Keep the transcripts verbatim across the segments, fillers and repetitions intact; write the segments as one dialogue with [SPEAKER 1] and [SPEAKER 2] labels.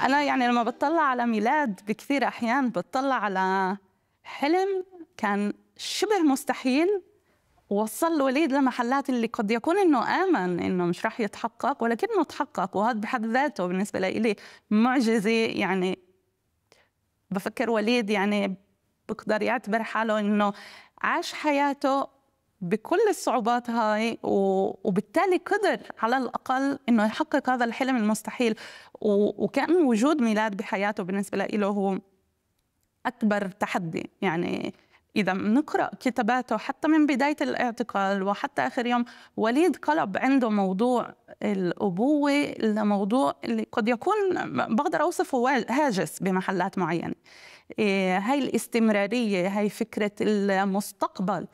[SPEAKER 1] أنا يعني لما بتطلع على ميلاد بكثير أحيان بتطلع على حلم كان شبه مستحيل، ووصل الوليد لمحلات اللي قد يكون إنه آمن إنه مش رح يتحقق، ولكنه تحقق. وهذا بحد ذاته بالنسبة لي معجزة. يعني بفكر وليد يعني بقدر يعتبر حاله إنه عاش حياته بكل الصعوبات هاي، وبالتالي قدر على الأقل إنه يحقق هذا الحلم المستحيل. وكان وجود ميلاد بحياته بالنسبة له هو أكبر تحدي. يعني إذا بنقرأ كتاباته حتى من بداية الاعتقال وحتى آخر يوم، وليد قلب عنده موضوع الأبوة لموضوع اللي قد يكون بقدر أوصفه هاجس بمحلات معينة. إيه هاي الاستمرارية، هاي فكرة المستقبل،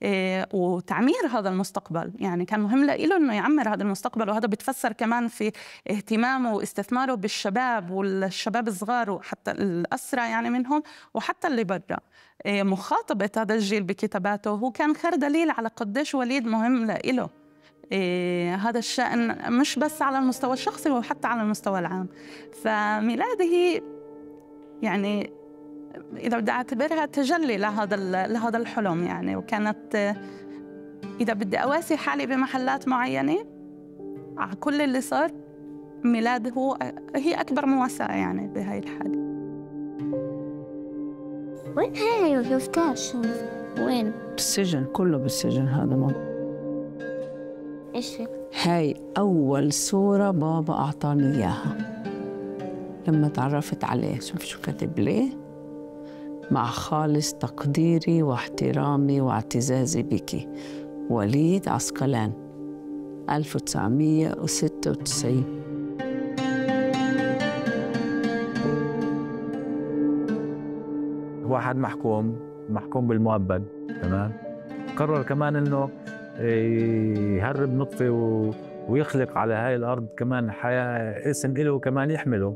[SPEAKER 1] إيه وتعمير هذا المستقبل. يعني كان مهم له إنه يعمر هذا المستقبل، وهذا بتفسر كمان في اهتمامه واستثماره بالشباب والشباب الصغار وحتى الأسرى يعني منهم وحتى اللي برا. إيه مخاطبة هذا الجيل بكتاباته هو كان خير دليل على قديش وليد مهم له. إيه هذا الشأن مش بس على المستوى الشخصي وحتى على المستوى العام. فميلاده يعني إذا بدي أعتبرها تجلي لهذا لهذا الحلم يعني. وكانت إذا بدي أواسي حالي بمحلات معينة على كل اللي صار، ميلاد هو هي أكبر مواساة يعني بهاي الحالة.
[SPEAKER 2] وين هاي وشفتاش؟ وين؟
[SPEAKER 3] بالسجن، كله بالسجن. هذا موضوع.
[SPEAKER 2] إيش
[SPEAKER 3] هاي أول صورة بابا أعطاني إياها لما تعرفت عليه. شوف شو كتب ليه: مع خالص تقديري واحترامي واعتزازي بك، وليد عسقلان، ألف وتسعمية وستة وتسعين.
[SPEAKER 4] واحد محكوم محكوم بالمؤبد، تمام. قرر كمان إنه يهرب نطفة ويخلق على هاي الأرض كمان حياة، اسم إله كمان يحمله.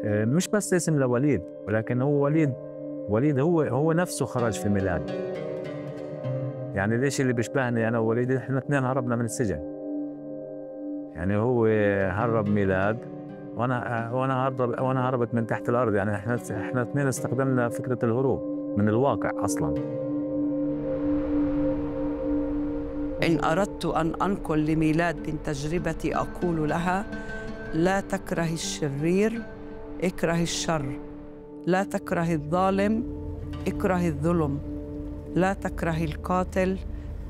[SPEAKER 4] مش بس اسم لوليد، ولكن هو وليد وليد هو هو نفسه خرج في ميلاد. يعني ليش اللي بيشبهني أنا ووليد؟ إحنا اثنين هربنا من السجن. يعني هو هرب ميلاد وأنا وأنا هرب وأنا هربت من تحت الأرض. يعني إحنا إحنا اثنين استخدمنا فكرة الهروب من الواقع أصلاً.
[SPEAKER 3] إن أردت أن أنقل لميلاد من تجربتي أقول لها: لا تكره الشرير، اكره الشر. لا تكره الظالم، اكره الظلم. لا تكره القاتل،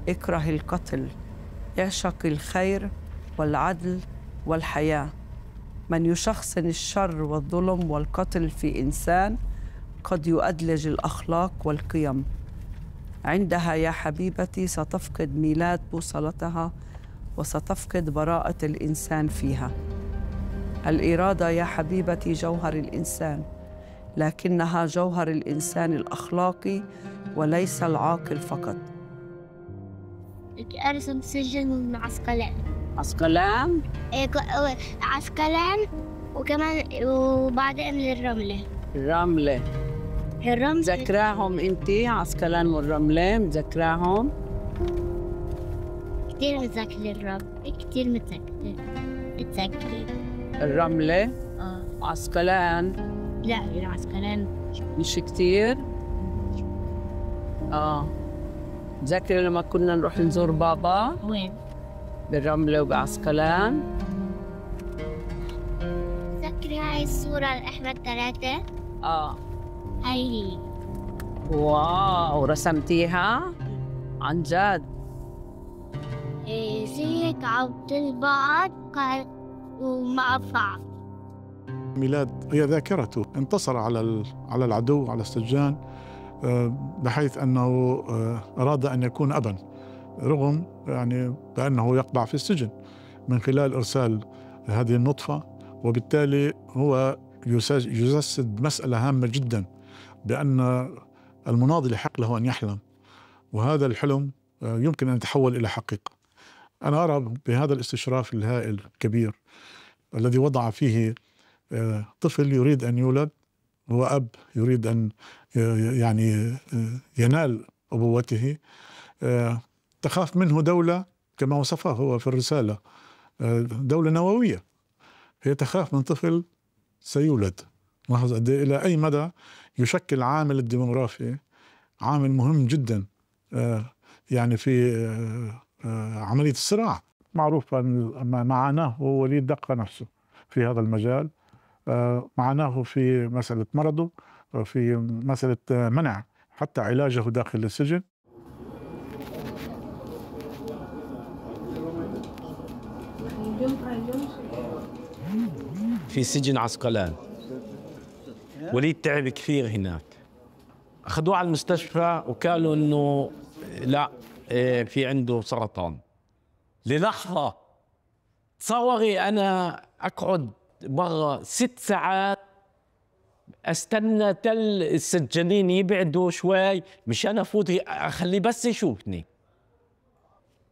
[SPEAKER 3] اكره القتل. اعشق الخير والعدل والحياة. من يشخصن الشر والظلم والقتل في إنسان قد يؤدلج الأخلاق والقيم. عندها يا حبيبتي ستفقد ميلاد بوصلتها وستفقد براءة الإنسان فيها. الإرادة يا حبيبتي جوهر الإنسان، لكنها جوهر الإنسان الأخلاقي وليس العاقل فقط.
[SPEAKER 2] أرسم سجن عسقلان.
[SPEAKER 3] عسقلان؟
[SPEAKER 2] إيه عسقلان، وكمان وبعدين الرملة.
[SPEAKER 3] الرملة.
[SPEAKER 2] الرملة
[SPEAKER 3] مذكراهم أنتي؟ عسقلان والرملة مذكراهم؟
[SPEAKER 2] كتير متذكرة الرملة، كتير متذكرة متذكرة
[SPEAKER 3] الرملة؟
[SPEAKER 2] آه.
[SPEAKER 3] عسقلان؟
[SPEAKER 2] لا العسقلان
[SPEAKER 3] مش كتير؟ آه. متذكرة لما كنا نروح نزور بابا؟
[SPEAKER 2] وين؟
[SPEAKER 3] بالرملة وبعسقلان؟
[SPEAKER 2] متذكرة هاي الصورة الأحمر ثلاثة؟
[SPEAKER 3] آه.
[SPEAKER 2] هاي هي.
[SPEAKER 3] واو، رسمتيها؟ عن جد؟
[SPEAKER 2] إيه زي هيك عبد البعض ومع بعض.
[SPEAKER 5] ميلاد هي ذاكرته، انتصر على على العدو، على السجان، بحيث أنه أراد أن يكون أباً، رغم يعني بأنه يقبع في السجن من خلال إرسال هذه النطفة. وبالتالي هو يجسد مسألة هامة جداً، بأن المناضل يحق له أن يحلم، وهذا الحلم يمكن أن يتحول إلى حقيقة. أنا أرى بهذا الاستشراف الهائل الكبير الذي وضع فيه طفل يريد أن يولد، هو أب يريد أن يعني ينال أبوته، تخاف منه دولة كما وصفه هو في الرسالة، دولة نووية. هي تخاف من طفل سيولد. لاحظ قد إيه إلى أي مدى يشكل عامل الديموغرافي عامل مهم جدا يعني في عملية الصراع. معروف ما معاناه وليد دقة نفسه في هذا المجال، معناه في مسألة مرضه، في مسألة منع حتى علاجه داخل السجن.
[SPEAKER 6] في سجن عسقلان وليد تعب كثير هناك، أخذوه على المستشفى وقالوا إنه لا في عنده سرطان. للحظة تصوري أنا أقعد برا ست ساعات أستنى تل السجانين يبعدوا شوي مشان أفوت أخليه بس يشوفني.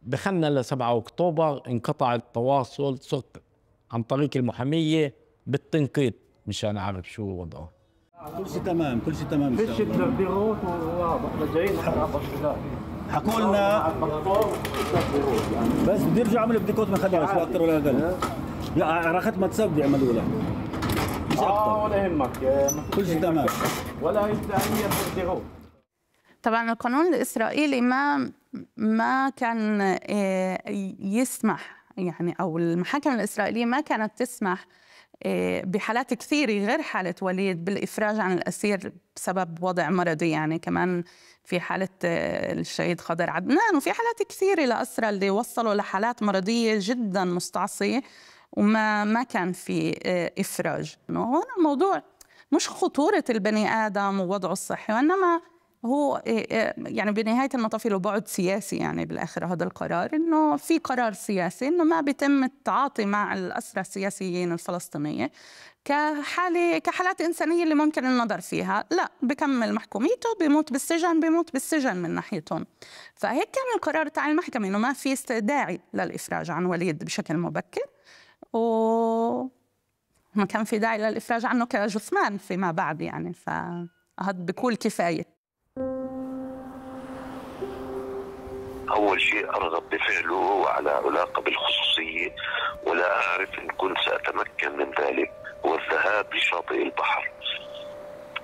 [SPEAKER 6] دخلنا لسبعة أكتوبر انقطع التواصل، صرت عن طريق المحامية بالتنقيط مشان أعرف شو وضعه.
[SPEAKER 7] كل شيء تمام، كل شيء تمام.
[SPEAKER 8] فيش تدبيرات واضح جايين
[SPEAKER 7] حكوا لنا بس بده يرجعوا يعملوا بديكوت من خدعة شو أكثر ولا أقل. لا رخت ما تسب يعملوا لها مش أكثر.
[SPEAKER 8] آه ولا يهمك
[SPEAKER 7] كل شيء تمام
[SPEAKER 8] ولا هي تدبيرات.
[SPEAKER 1] طبعا القانون الإسرائيلي ما ما كان يسمح يعني، أو المحاكم الإسرائيلية ما كانت تسمح بحالات كثيرة غير حالة وليد بالإفراج عن الأسير بسبب وضع مرضي. يعني كمان في حالة الشهيد خضر عدنان وفي حالات كثيرة لأسرى اللي وصلوا لحالات مرضية جدا مستعصية وما ما كان في إفراج. هون الموضوع مش خطورة البني آدم ووضعه الصحي، وإنما هو يعني بنهاية المطاف له بعد سياسي. يعني بالآخر هذا القرار إنه في قرار سياسي إنه ما بيتم التعاطي مع الأسرى السياسيين الفلسطينية كحالة كحالات إنسانية اللي ممكن النظر فيها، لا بكمل محكوميته بيموت بالسجن بيموت بالسجن من ناحيتهم. فهيك كان القرار تاع المحكمة إنه ما في داعي للإفراج عن وليد بشكل مبكر، وما كان في داعي للإفراج عنه كجثمان فيما بعد. يعني فهذا بكل كفاية.
[SPEAKER 9] أول شيء أرغب بفعله وعلى علاقة بالخصوصية، ولا أعرف إن كنت سأتمكن من ذلك، هو الذهاب لشاطئ البحر.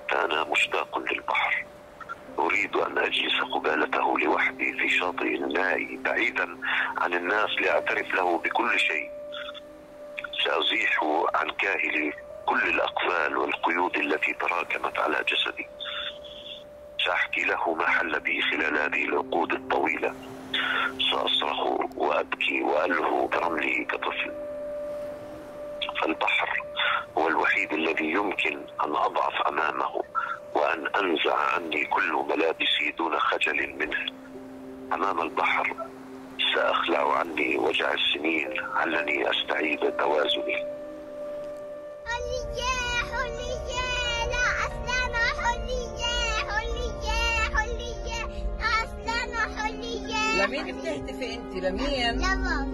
[SPEAKER 9] فأنا مشتاق للبحر، أريد أن أجلس قبالته لوحدي في شاطئ الماء بعيدا عن الناس لأعترف له بكل شيء. سأزيح عن كاهلي كل الأقفال والقيود التي تراكمت على جسدي. سأحكي له ما حل بي خلال هذه العقود الطويلة. سأصرخ وأبكي وألهو برمله كطفل. فالبحر هو الوحيد الذي يمكن أن أضعف أمامه وأن أنزع عني كل ملابسي دون خجل منه. أمام البحر سأخلع عني وجع السنين علني أستعيد توازني.
[SPEAKER 2] حرية حرية لا أسلم حرية حرية حرية لا أسلم حرية.
[SPEAKER 3] لمين بتهتفي أنت؟ لمين؟
[SPEAKER 2] لبابا.